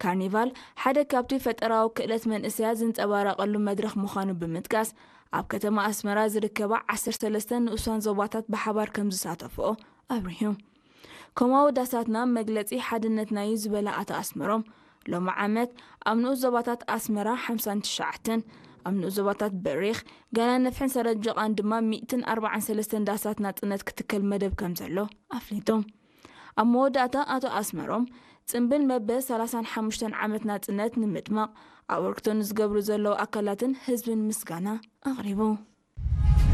ካርኒቫል ሓደ ካብቲ ፈጠራዊ ክእለት መንእሰያት ዝንጸባረቐሉ መድረኽ ምዃኑ ብምጥቃስ፣ ኣብ ከተማ ኣስመራ ዝርከባ ዓሰርተ ሰለስተ ንኡሳን ዞባታት ብሓባር ከም ዝሳተፍኦ ኣብሪሁ። ከምኡ ዳሳትና መግለጺ ሓድነትና እዩ ዝበለ ኣቶ ኣስመሮም፣ ሎሚ ዓመት ኣብ ንኡስ ዞባታት ኣስመራ ሓምሳን ትሽዓተን፣ ኣብ ንኡስ ዞባታት በሪኽ፣ ገና ነፍሕን ሰረጀቓን ድማ ሚእትን ኣርባዓን ሰለስተን ዳሳት ናጽነት ክትከል መደብ ከም ዘሎ ኣፍሊጡ። ኣብ መወዳእታ ኣቶ ኣስመሮም፣ ጽምብል መበ ሰላሳን ሓሙሽተን ዓመት ናጽነት ንምድማቕ ኣበርክቶ ንዝገብሩ ዘለዉ ኣካላትን ህዝብን ምስጋና ኣቕሪቡ።